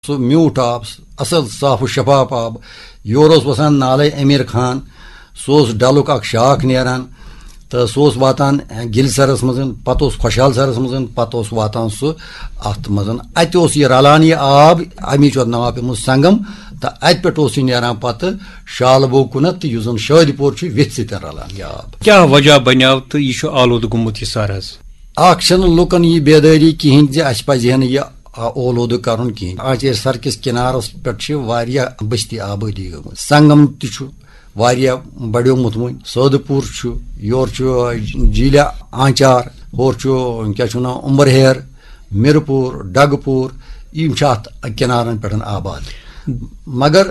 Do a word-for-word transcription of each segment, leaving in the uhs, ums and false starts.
سُہ میوٗٹھ آب، اَصٕل صاف و شفاف آب۔ یورٕ اوس وَسان نالے امیر خان، سُہ اوس ڈلُک اکھ شاخ نیران، تہٕ سُہ اوس واتان گِلۍ سرس منٛز، پتہٕ اوس خۄشحال سرس منٛز، پتہٕ اوس واتان سُہ اَتھ منٛز۔ اَتہِ اوس یہِ رلان یہِ آب، اَمی چھُ اَتھ ناو پیوٚمُت سنگم۔ تہٕ اَتہِ پٮ۪ٹھ اوس یہِ نیران پتہٕ شالہٕ بوگ کُنتھ، تہٕ یُس زن شٲدۍ پور چھُ، ویٚتھِ سۭتۍ رلان یہِ آب۔ کیٛاہ وجہ بنیٛاو تہٕ یہِ چھُ آلودٕ گوٚمُت یہِ سر حظ؟ اکھ چھنہٕ لُکن یہِ بیدٲری کِہینۍ زِ اسہِ پزِ ہا نہٕ یہِ آ، اولوٗدٕ کرُن کِہینۍ۔ آنچارِ سر کِس کِنارس پٮ۪ٹھ چھِ واریاہ بستی آبٲدی گٔمٕژ۔ سنگم تہِ چھُ واریاہ بڑیومُت وۄنۍ۔ سٲدٕ پوٗر چھُ، یورٕ چھُ جیٖلہِ آنچار، ہورٕ چھُ، کیٛاہ چھُ ونان، اُمبرہیر، مِرٕ پوٗر، ڈگہٕ پوٗر، یِم چھِ اتھ کِنارن پٮ۪ٹھ آباد۔ مگر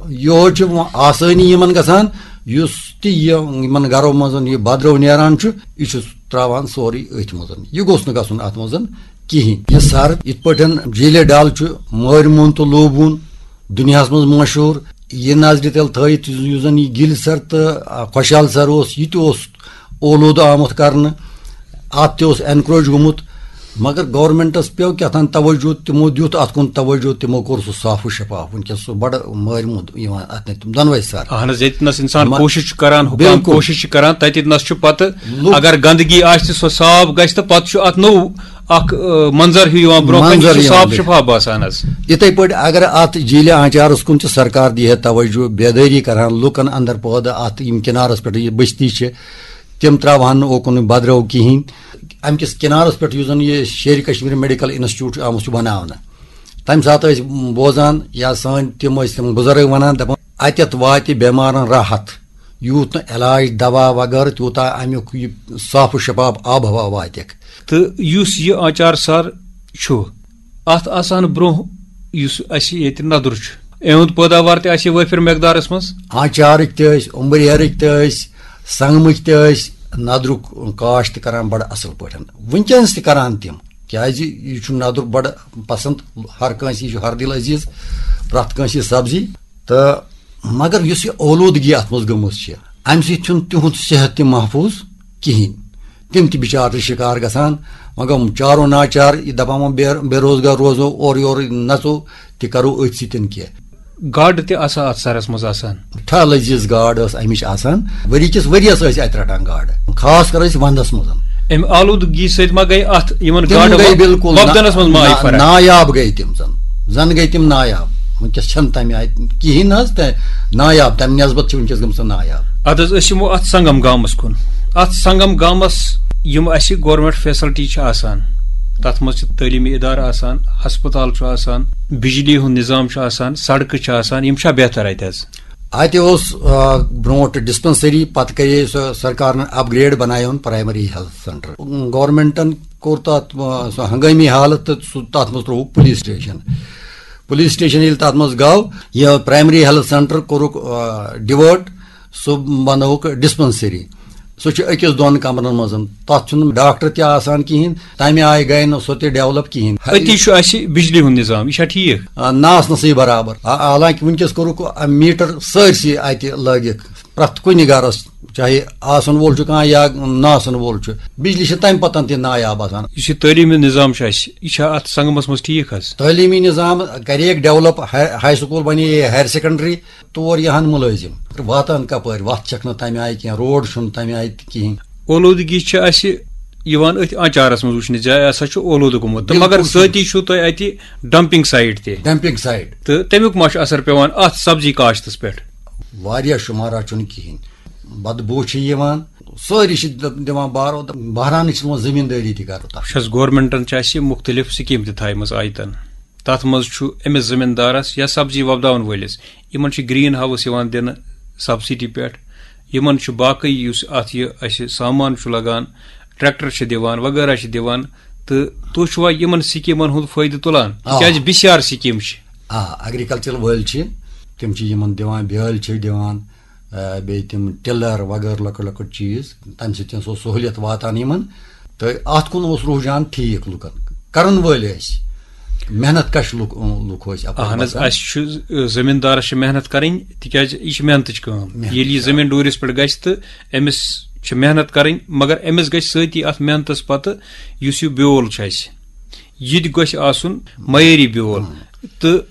یورٕ چھِ وۄنۍ آسٲنی یِمن گژھان، یُس تہِ یہِ یِمن گرو منٛز یہِ بدرو نیران چھُ، یہِ چھُ تراوان سورُے أتھۍ منٛز۔ یہِ گوٚژھ نہٕ گژھُن اتھ منٛز کِہینۍ۔ یہِ سر یِتھ پٲٹھۍ جیٖلہِ ڈل چھُ مٲرۍ مون تہٕ لوٗبوُن دُنیاہس منٛز مشہوٗر، یہِ نظرِ تل تھٲیِتھ یُس زن یہِ گِلۍ سر تہٕ، آ، خۄشحال سر اوس، یہِ تہِ اوس اولوٗدٕ آمُت کرنہٕ، اتھ تہِ اوس انکروچ گوٚمُت، مگر گورنمنٹس پیوٚو کیٛاہ تام توجہ، تِمو دیُت اتھ کُن توجہ، تِمو کوٚر سُہ صاف و شفاف۔ وٕنکیٚس سُہ بڑٕ مٲرۍ مون یِوان اتھ نِش تِم دۄنوے سر۔ اہن حظ، ییٚتہِ نس انسان مہ-، کوٗشش چھُ کران، حکام بالکل۔ کوٗشش چھُ کران، تتہِ نس چھُ پتہٕ لُکھ اگر گندگی آسہِ تہِ سۄ صاف گژھِ تہٕ پتہٕ چھُ اتھ نوٚو اکھ، آ، منظر ہیوٗ یِوان برونٛہہ کنہِ، منظر سُہ یِوان صاف بِلکُل۔ شفاف باسان حظ۔ یِتھے پٲٹھۍ اگر اتھ جیٖلہِ آنچارس کُن تہِ سرکار دی ہے توجہ، بیدٲری کرہن لُکن اندر پٲدٕ، اتھ یِم کِنارس پٮ۪ٹھ یہِ بستی چھِ، تِم تراوہن نہٕ اوکُن بدرو کِہینۍ۔ امہِ کِس کِنارس پٮ۪ٹھ یُس زن یہِ شیرِ کشمیر میڈیکل انسٹیٹیوٹ چھُ آمُت چھُ بناونہٕ، تمہِ ساتہٕ ٲسۍ بوزان یا سٲنۍ تِم ٲسۍ تِم بُزرگ ونان، دپان، اتٮ۪تھ واتہِ بٮ۪مارن راحت، یوٗت نہٕ علاج دوا وغٲرٕ، تیوٗتاہ امیُک یہِ صاف و شفاف آب و ہوا واتٮ۪کھ۔ تہٕ یُس یہِ آنچار سر چھُ، اتھ آسان برونٛہہ یُس اسہِ ییٚتہِ ندُر چھُ، اِہُنٛد پٲداوار تہِ آسہِ وٲفر مقدارس منٛز۔ آنچارٕکۍ تہِ ٲسۍ، اُمبرہیرٕکۍ تہِ ٲسۍ، سنگمٕکۍ تہِ ٲسۍ، ندرُک کاشت کران بڑٕ اصل پٲٹھۍ۔ وٕنکیٚنس تہِ کران تِم، کیازِ یہِ چھُ ندُر بڑٕ پسند ہر کٲنٛسہِ، یہِ چھُ ہر دل عزیز پرٛٮ۪تھ کٲنٛسہِ یہِ سبزی۔ تہٕ مگر یُس یہِ اولوٗدگی اتھ منٛز گٔمٕژ چھِ، امہِ سۭتۍ چھُنہٕ تِہُنٛد صحت تہِ محفوٗظ کِہینۍ۔ تِم تہِ بِچار چھِ شِکار گژھان، وۄنۍ گوٚو چارو ناچار، یہِ دَپان وۄنۍ بے-، بے روزگار روزو، اورٕ یورٕ نَژو، تہِ کَرو أتھۍ سۭتۍ کینٛہہ۔ گاڈٕ تہِ آسان اَتھ سَرَس منٛز آسان؟ ٹھاہ لٔزیٖز گاڈ ٲس اَمِچ آسان، ؤری کِس ؤریَس ٲسۍ اَتہِ رَٹان گاڈٕ، خاص کر ٲسۍ وَندَس منٛز۔ اَمہِ آلوٗدگی سۭتۍ ما گٔے اَتھ یِمَن تِم گاڈٕ گٔے وۄ-، بِلکُل نا-، وۄپدَنَس منٛز ما آیہِ نا-، فرق؟ نایاب گٔے تِم زَن، زَن گٔے تِم نایاب۔ وٕنکیٚس چھَنہٕ تَمہِ آیہِ کِہیٖنۍ نہ حظ، تہٕ نایاب، تَمہِ نٮ۪سبَت چھِ وٕنکیٚس گٔمٕژ نایاب۔ اَدٕ حظ، أسۍ یِمو اَتھ سنگم گامَس کُن۔ اَتھ سنگم گامَس یِم اَسہِ گورنمنٹ فیسلٹی چھِ آسان، تَتھ منٛز چھِ تعلیٖمی اِدارٕ آسان، ہسپتال چھُ آسان، بجلی ہُنٛد نظام چھُ آسان، سڑکہٕ چھِ آسان، یِم چھا بہتر اَتہِ حظ؟ اَتہِ اوس، آ، برونٛٹھ ڈسپنسری، پَتہٕ کَرے سۄ سرکارن اپگریڈ، بَنایون پرایمری ہیلتھ سینٹر۔ گورنمنٹن کوٚر تَتھ، آ، سُہ ہنگٲمی حالت تہٕ سُہ، تَتھ منٛز ترٛووُکھ پُلیٖس سٹیشن۔ پُلیٖس سٹیشن ییٚلہِ تَتھ منٛز گوٚو، یہِ پرایمری ہیلتھ سینٹر کوٚرُکھ، آ، ڈِوٲرٹ، سُہ بَنووُکھ ڈسپنسری۔ سُہ چھُ أکِس دۄن کمرن منٛز، تَتھ چھُنہٕ ڈاکٹر تہِ آسان کِہیٖنۍ، تَمہِ آیہِ گٔے نہٕ سۄ تہِ ڈیولپ کِہیٖنۍ۔ أتی چھُ اَسہِ بجلی ہُنٛد نظام، یہِ چھا ٹھیٖک؟ آ، نہ آسنَسٕے برابر۔ آ، حالانکہِ وٕنکیٚس کوٚرُکھ، آ، میٖٹر سٲرسٕے اَتہِ لٲگِکھ، پرٛٮ۪تھ کُنہِ گرس، چاہے آسن وول چھُ کانٛہہ یا نہ آسن وول چھُ، بجلی چھِ تَمہِ پتن تہِ نایاب آسان۔ یُس یہِ تعلیٖمی نظام چھُ اَسہِ، یہِ چھا اَتھ سنگمس منٛز ٹھیٖک حظ؟ تعلیٖمی نظام کریکھ ڈیولپ، ہاے، ہاے سکول بنے، ہایر سیکنڈری، تور یِہن مُلٲزِم، واتان کپٲرۍ؟ وتھ چھکھ نہٕ تمہِ آیہِ کینٛہہ، روڈ چھُنہٕ تمہِ آیہِ تہِ کِہینۍ۔ اولوٗدگی چھِ اَسہِ یِوان أتھۍ آنچارس منٛز وٕچھنہٕ، جایہِ ہسا چھُ اولوٗدٕ گوٚمُت، تہٕ مگر بِلکُل۔ سۭتی چھُو تۄہہِ اَتہِ ڈمپنگ سایٹ تہِ۔ Dumping site. تہٕ تَمیُک ما چھُ اثر پٮ۪وان اَتھ سبزی کاشتس پٮ۪ٹھ؟ واریاہ شُمارا چھُنہٕ کِہینۍ، بدبو چھِ یِوان، سٲری چھِ د-، دِوان بارو، بہرانٕچ چھِ یِوان زٔمیٖندٲری تہِ کرُن تَتھ۔ چھَس گورنمنٹن چھِ اَسہِ مُختٔلِف سکیٖم تہِ تھایمَژٕ آیتن۔ تَتھ منٛز چھُ أمِس زٔمیٖندارَس یا سبزی وۄپداوَن وٲلِس، یِمَن چھُ گرین ہاوُس یِوان دِنہٕ سبسڈی پٮ۪ٹھ، یِمَن چھُ باقٕے یُس اَتھ یہِ اَسہِ سامان چھُ لَگان، ٹریکٹر چھِ دِوان، وغیرہ چھِ دِوان، تہٕ تُہۍ چھُوا یِمَن سکیٖمَن ہُنٛد فٲیدٕ تُلان؟ آ۔ تِکیٛازِ بِسیار سکیٖم چھِ۔ آ، ایگریکلچر وٲلۍ چھِ، تِم چھِ یِمَن دِوان، بیٛٲلۍ چھِ دِوان، آ، بیٚیہِ تِم ٹِلر وغٲرٕ لۄکٕٹۍ لۄکٕٹۍ چیٖز، تَمہِ سۭتۍ چھِ سۄ سہوٗلیت واتان یِمَن۔ تہٕ اَتھ کُن اوس رُجحان ٹھیٖک لُکَن، کَرَن وٲلۍ ٲسۍ، محنت کَش لُکھ، لُکھ ٲسۍ اَپٲرۍ اہن حظ، بَسان۔ اَسہِ چھُ، آ، زٔمیٖندارَس چھِ محنت کَرٕنۍ، تِکیٛازِ یہِ چھِ محنتٕچ کٲم۔ محنت ییٚلہِ یہِ کَرٕنۍ۔ زٔمیٖن ڈوٗرِس پٮ۪ٹھ گژھِ تہٕ أمِس چھِ محنت کَرٕنۍ، مگر أمِس گژھِ سۭتی اَتھ محنتَس پَتہٕ یُس یہِ بیول چھُ اَسہِ، یہِ تہِ گژھِ آسُن معیٲری بیول۔ تہٕ